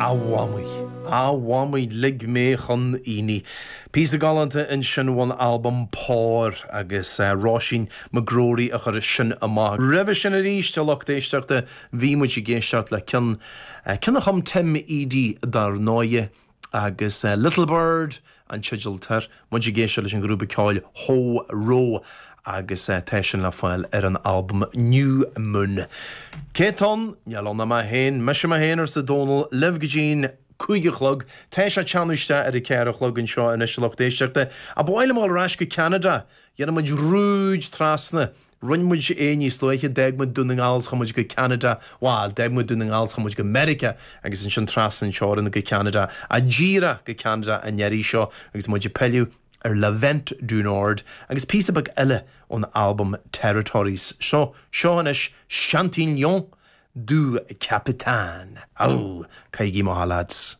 A Mhamaí, a Mhamaí, lig mé chun aonaigh. Píosa galánta ansin ón albam Pár agus Róisín McGrory a chuir sin amach. Roimhe sin arís, a lucht éisteachta, bhí muid ag éisteacht le ceann, ceann a chum Tim Edey dar ndóighe, agus Little Bird an teideal atá air. Muid ag éisteacht leis an ghrúpa ceoil Ho Ro agus tá sin le fáil ar an albam New Moon. Cé atá ann? Níl ann ach mé féin. Mise mé féin, arsa Dónal, libh go dtí'n 5 a chlog. Tá sé ag teannadh isteach ar a 4 a chlog anseo anois, a lucht éisteachta. Ach ba mhaith liom a dhul ar ais go Ceanada. Dhéanfaidh muid rúid trasna. Rinne muid é níos luaithe, d'fhág muid Dún na nGall 's chuaigh muid go Ceanada, bhal, d'fhág muid Dún na nGall 's chuaigh muid go Meiriceá agus ansin trasna an teorainn go Ceanada, ach díreach go Ceanada an iarraidh seo agus muid ag pilleadh ar Le Vent du Nord agus píosa beag eile ón albam Territories. So, seo anois Chantillon du Capitaine. Aú! Caithigí amach a lads.